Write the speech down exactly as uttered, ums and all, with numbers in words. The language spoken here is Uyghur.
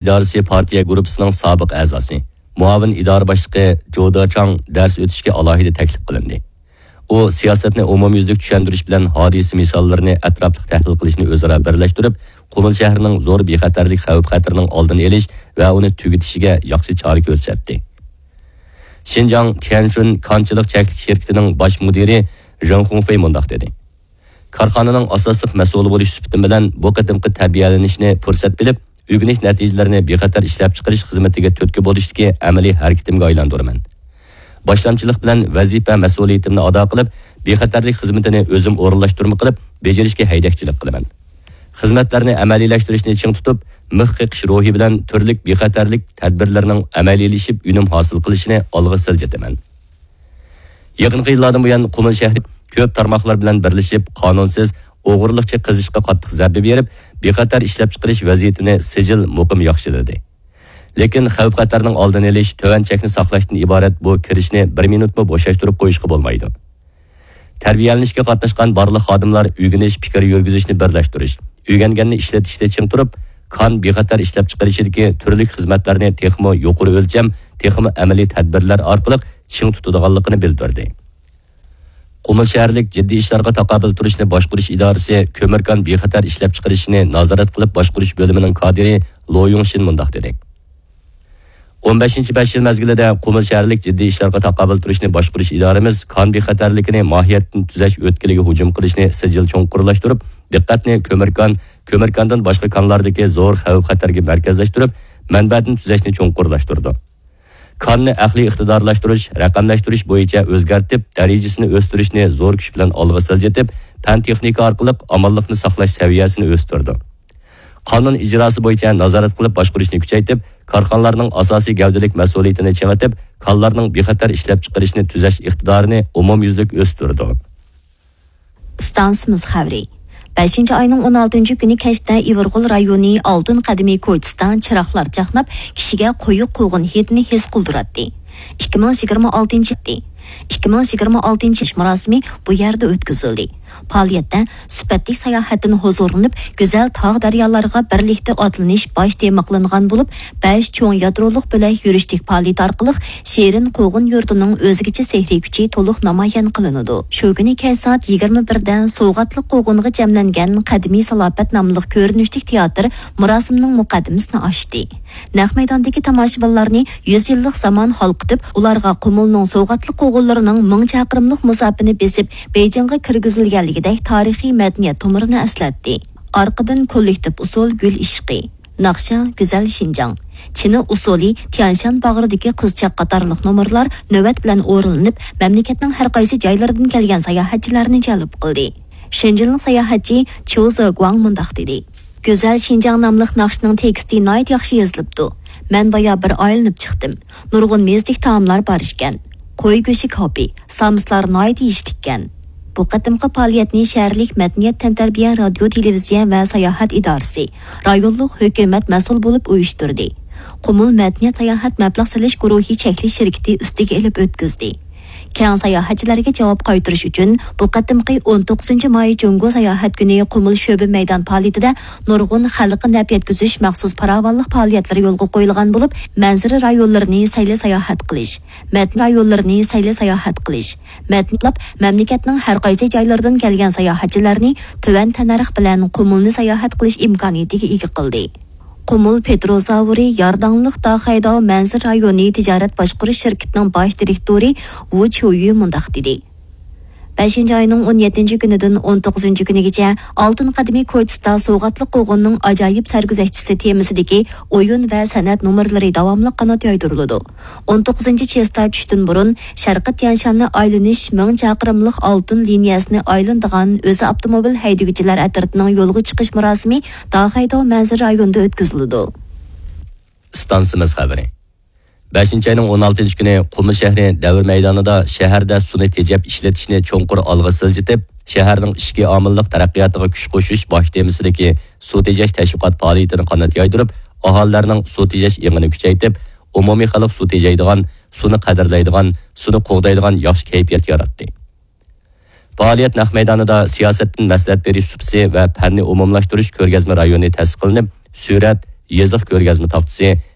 ئىدارىسى پارتىيە گۇرۇپپىسىنىڭ سابىق ئەزاسى، مۇئاۋىن ئىدارە باشلىقى جودا چاڭ دەرس ئۆتۈشكە ئالاھىدە تەكلىپ قىلىندى. ئۇ سىياسەتنى ئومۇميۈزلۈك چۈشەندۈرۈش بىلەن ھادىسە مىساللىرىنى ئەتراپلىق تەھلىل قىلىشنى ئۆزئارا بىرلەشتۈرۈپ، قۇمۇل شەھىرىنىڭ زور بىخەتەرلىك خەۋپ-خەتىرىنىڭ ئالدىنى ئېلىش ۋە ئۇنى تۈگىتىشىگە ياخشى چارە كۆرسەتتى. شىنجاڭ تيەنشۇن كانچىلىق چەكلىك شىركىتىنىڭ باش مۇدىرى ژېڭ خۇڭفېي مۇنداق دېدى: كارخانىنىڭ ئاساسلىق مەسئۇلى بولۇش سۈپىتىم بىلەن بۇ قېتىمقى تەربىيەلىنىشنى پۇرسەت بىلىپ، ئۆگىنىش نەتىجىلىرىنى بىخەتەر ئىشلەپچىقىرىش خىزمىتىگە تۈرتكە بولۇشتىكى ئەمەلىي ھەرىكىتىمگە ئايلاندۇرىمەن. باشلامچىلىق بىلەن ۋەزىپە مەسئۇلىيىتىمنى ئادا قىلىپ، بىخەتەرلىك خىزمىتىنى ئۆزۈم ئورۇنلاشتۇرما قىلىپ، بېجىرىشكە ھەيدەكچىلىك قىلىمەن. خىزمەتلەرنى ئەمەلىيلەشتۈرۈشنى چىڭ تۇتۇپ، مىخ قېقىش روھى بىلەن تۈرلۈك بىخەتەرلىك تەدبىرلىرىنىڭ ئەمەلىيلىشىپ، ئۈنۈم ھاسىل قىلىشىنى ئالغا سىلجىتىمەن. يېقىنقى يىللاردىن بۇيان، قۇمۇل شەھىرى كۆپ تارماقلار بىلەن بىرلىشىپ، قانۇنسىز، ئوغرىلىقچە قېزىشقا قاتتىق زەربە بېرىپ، بىخەتەر ئىشلەپچىقىرىش ۋەزىيىتىنى سىجىل مۇقىم ياخشىلىدى. لېكىن خەۋپ-خەتەرنىڭ ئالدىنى ئېلىش، تۆۋەن چەكنى ساقلاشتىن ئىبارەت بۇ كىرىشنى بىر مىنۇتمۇ بوشاشتۇرۇپ قويۇشقا بولمايدۇ. تەربىيەلىنىشكە قاتناشقان بارلىق خادىملار ئۆگىنىش، پىكىر يۈرگۈزۈشنى بىرلەشتۈرۈش، ئۆگەنگەننى ئىشلىتىشتە چىڭ تۇرۇپ، كان بىخەتەر ئىشلەپچىقىرىشىدىكى تۈرلۈك خىزمەتلەرنى تېخىمۇ يۇقىرى ئۆلچەم، تېخىمۇ ئەمەلىي تەدبىرلەر ئارقىلىق چىڭ تۇتىدىغانلىقىنى بىلدۈردى. قۇمۇل شەھەرلىك جىددىي ئىشلارغا تاقابىل تۇرۇشنى باشقۇرۇش ئىدارىسى كۆمۈركان بىخەتەر ئىشلەپچىقىرىشىنى نازارەت قىلىپ باشقۇرۇش بۆلۈمىنىڭ كادىرى لو يۇڭشىن مۇنداق دېدى: ئون بەشىنچى بەش يىل مەزگىلىدە قۇمۇل شەھەرلىك جىددىي ئىشلارغا تاقابىل تۇرۇشنى باشقۇرۇش ئىدارىمىز كان بىخەتەرلىكىنى ماھىيەتتىن تۈزەش ئۆتكىلىگە ھۇجۇم قىلىشنى سىجىل چوڭقۇرلاشتۇرۇپ، دىققەتنى كۆمۈركان، كۆمۈركاندىن باشقا كانلاردىكى زور خەۋپ-خەتەرگە مەركەزلەشتۈرۈپ، مەنبەدىن تۈزەشنى چوڭقۇرلاشتۇردى. كاننى ئەقلىي ئىقتىدارلاشتۇرۇش، رەقەملەشتۈرۈش بويىچە ئۆزگەرتىپ، دەرىجىسىنى ئۆستۈرۈشنى زور كۈچ بىلەن ئالغا سىلجىتىپ، پەن-تېخنىكا ئارقىلىق ئامانلىقنى ساقلاش سەۋىيەسىنى ئۆستۈردى. قانۇن ئىجراسى بويىچە نازارەت قىلىپ باشقۇرۇشنى كۈچەيتىپ، كارخانىلارنىڭ ئاساسىي گەۋدىلىك مەسئۇلىيىتىنى چىڭىتىپ، كانلارنىڭ بىخەتەر ئىشلەپچىقىرىشنى تۈزەش ئىقتىدارىنى ئومۇميۈزلۈك ئۆستۈردى. ئىستانسىمىز خەۋىرى. بەشىنچى ئاينىڭ ئون ئالتىنچى كۈنى كەچتە ئىۋىرغول رايونى ئالتۇن قەدىمى كوچىسىدا چىراغلار چاقناپ، كىشىگە قويۇق قوغۇن ھىدىنى ھېس قىلدۇراتتى. ئىككى مىڭ يىگىرمە ئالتىنچى، ئىككى مىڭ يىگىرمە ئالتىنچى يىل مۇراسىمى بۇ يەردە ئۆتكۈزۈلدى. پائالىيەتتە سۈپەتلىك ساياھەتتىن ھۇزۇرلىنىپ، گۈزەل تاغ دەريالارغا بىرلىكتە ئاتلىنىش باش تېما قىلىنغان بولۇپ، بەش چوڭ يادرولۇق بۆلەك يۈرۈشلۈك پائالىيىتى ئارقىلىق شېرىن قوغۇن يۇرتىنىڭ ئۆزگىچە سېھرىي كۈچى تولۇق نامايان قىلىنىدۇ. شۇ كۈنى كەچ سائەت يىگىرمە بىردە سوۋغاتلىق قوغۇنغا جەملەنگەن قەدىمىي سالاپەت ناملىق كۆرۈنۈشلۈك تىياتىر مۇراسىمنىڭ مۇقەددىمىسىنى ئاچتى. نەق مەيداندىكى تاماشىبىنلارنى يۈز يىللىق زامان ھالقىتىپ، ئۇلارغا قۇمۇلنىڭ سوۋغاتلىق قوغۇنلىرىنىڭ مىڭ چاقىرىملىق مۇساپىنى بېسىپ، بېيجىڭغا كىرگۈزۈلگەنلىكىدەك تارىخىي مەدەنىيەت تومۇرىنى ئەسلەتتى. ئارقىدىن كوللېكتىپ ئۇسسۇل گۈل ئىشقى، ناخشا، گۈزەل شىنجاڭ، چىنا ئۇسسۇلى، تيەنشان باغرىدىكى قىزچاق قاتارلىق نومۇرلار نۆۋەت بىلەن ئورۇنلىنىپ، مەملىكەتنىڭ ھەر قايسى جايلىرىدىن كەلگەن ساياھەتچىلەرنى جەلپ قىلدى. شېنجېنلىق ساياھەتچى چيۇ زېگۇاڭ مۇنداق دېدى: گۈزەل شىنجاڭ ناملىق ناخشىنىڭ تېكىستى ناھايىتى ياخشى يېزىلىپتۇ. مەن بايا بىر ئايلىنىپ چىقتىم. نۇرغۇن مېزىلىك تائاملار بار ئىكەن. قوي گۆشى كاۋىپى، سامسىلار ناھايىتى يېيىشلىككەن. بۇ قېتىمقى پائالىيەتنى شەھەرلىك مەدەنىيەت تەنتەربىيە رادىيو تېلېۋىزىيە ۋە ساياھەت ئىدارىسى، رايونلۇق ھۆكۈمەت مەسئۇل بولۇپ ئۇيۇشتۇردى. قۇمۇل مەدەنىيەت ساياھەت مەبلەغ سېلىش گۇرۇھى چەكلىك شىركىتى ئۈستىگە ئېلىپ ئۆتكۈزدى. كەڭ ساياھەتچىلەرگە جاۋاب قايتۇرۇش ئۈچۈن، بۇ قېتىمقى ئون توققۇزىنچى ماي جۇڭگو ساياھەت كۈنى قۇمۇل شۆبە مەيدان پائالىيىتىدە نۇرغۇن خەلققە نەپ يەتكۈزۈش مەخسۇس پاراۋانلىق پائالىيەتلىرى يولغا قويۇلغان بولۇپ، مەنزىرە رايونلىرىنى سەيلە ساياھەت قىلىش، مەدەنىيەت رايونلىرىنى سەيلە ساياھەت قىلىش، مەدەنىيەت مەملىكەتنىڭ ھەر قايسى جايلىرىدىن كەلگەن ساياھەتچىلەرنى تۆۋەن تەننەرخ بىلەن قۇمۇلنى ساياھەت قىلىش ئىمكانىيىتىگە ئىگە قىلدى. قۇمۇل پېتروزاۋرى يارداڭلىق داخەيداۋ مەنزىرە رايونى تىجارەت باشقۇرۇش شىركىتىنىڭ باش دىرېكتورى ۋۇ چيۇيۈ مۇنداق دېدى: بەشىنچى ئاينىڭ ئون يەتتىنچى كۈنىدىن ئون توققۇزىنچى كۈنىگىچە ئالتۇن قەدىمىي كوچىسىدا سوۋغاتلىق قوغۇننىڭ ئاجايىپ سەرگۈزەشتىسى تېمىسىدىكى ئويۇن ۋە سەنئەت نومۇرلىرى داۋاملىق قانات يايدۇرۇلىدۇ. ئون توققۇزىنچى چېستا چۈشتىن بۇرۇن شەرقىي تيەنشاننى ئايلىنىش مىڭ چاقىرىملىق ئالتۇن لىنىيەسىنى ئايلىنىدىغان ئۆزى ئاپتوموبىل ھەيدىگۈچىلەر ئەترىتىنىڭ يولغا چىقىش مۇراسىمى داخەيداۋ مەنزىرە رايونىدا ئۆتكۈزۈلىدۇ. ئىستانسىمىز خەۋىرى. بەشىنچى ئاينىڭ ئون ئالتىنچى كۈنى قۇمۇل شەھىرى دەۋر مەيدانىدا شەھەردە سۇنى تېجەپ ئىشلىتىشنى چوڭقۇر ئالغا سىلجىتىپ، شەھەرنىڭ ئىچكى ئامىللىق تەرەققىياتىغا كۈچ قوشۇش باش تېمىسىدىكى سۇ تېجەش تەشۋىقات پائالىيىتىنى قانات يايدۇرۇپ، ئاھالىلەرنىڭ سۇ تېجەش ئېڭىنى كۈچەيتىپ، ئومۇمىي خەلق سۇ تېجەيدىغان، سۇنى قەدىرلەيدىغان، سۇنى قوغدايدىغان ياخشى كەيپىيات ياراتتى. پائالىيەت نەق مەيدانىدا سىياسەتتىن مەسلىھەت بېرىش سۇپىسى ۋە پەننى ئومۇملاشتۇرۇش كۆرگەزمە رايونى تەسىس قىلىنىپ، سۈرەت، يېزىق كۆرگەزمە تاختىسى،